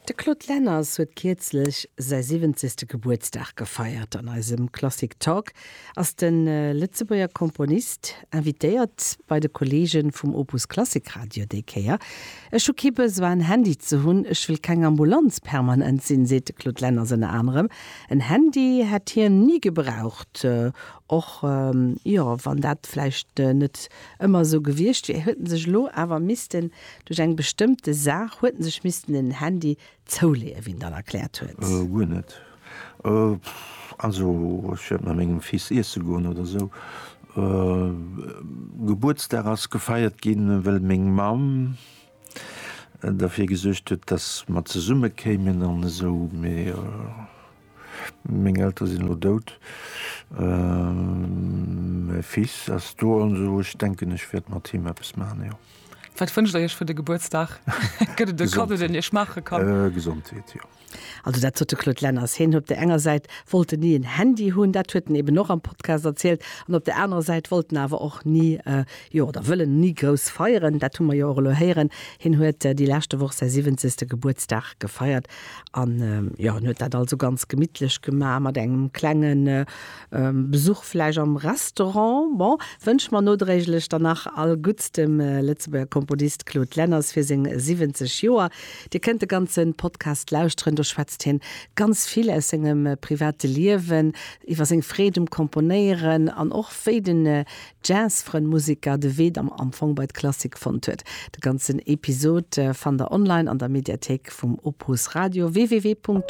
De Claude Lenners huet kierzlech säi siwwenzegste Gebuertsdag gefeiert. An eisem Klassik Talk ass de Lëtzebuerger Komponist invitéiert bei de Kolleege vum Opus Klassik Radio déi Kéier. Ech hu kee Besoin en Handy ze hunn, ech wëll keng Ambulanz permanent sinn, seet de Claude Lenners ënner anerem. En Handy hätt hien ni gebraucht, och jo wann dat vläicht net ëmmer esou gewiescht wier, huet en sech elo awer missten Duerch eng bestëmmte Saach huet en sech missten en Handy zouleeën, wéi en dann erkläert huet. Guer net. Also ech wäert mat mengem Fils iesse goen oder esou. Gebuertsdag ass gefeiert ginn, well meng Mamm derfir gesuergt huet, dass mer zesumme kéimen an esou. Mee Meng Eltere sinn elo dout. Mäi Fils ass do an esou. Ech denken, ech wäert mat him eppes maachen, jo. Wat wënscht der Iech fir de Gebuertsdag? Gëtt et e Kaddo, deen Iech maache kann? Gesondheet, jo. Also dat sot de Claude Lenners. Hien op der enger Säit wollt en ni en Handy hunn, dat huet en eben och am Podcast erzielt, an op der anerer Säit wollt en awer och ni, jo, oder wëll en ni grouss feieren. Dat hu mer jo och elo héieren. Hien huet déi leschte Woch säi siwwenzegste Gebuertsdag gefeiert. An jo, en huet dat also ganz gemittlech gemaach, mat engem klenge Besuch vläicht am Restaurant. Bon, wënsche mer nodréiglech dann nach all Gutts dem Lëtzebuerger Komponist Claude Lenners fir seng 70 Joer. Dir kënnt de ganze Podcast lauschteren, do schwätzt hien ganz vill aus sengem private Liewen, iwwer seng Freed um Komponéieren an och wéi den Jazzfrënn Museker de Wee am Fong bei d'Klassik fonnt huet. De ganzen Episod fannt der online an der Mediathéik vum Opus Radio, www.opus.radio.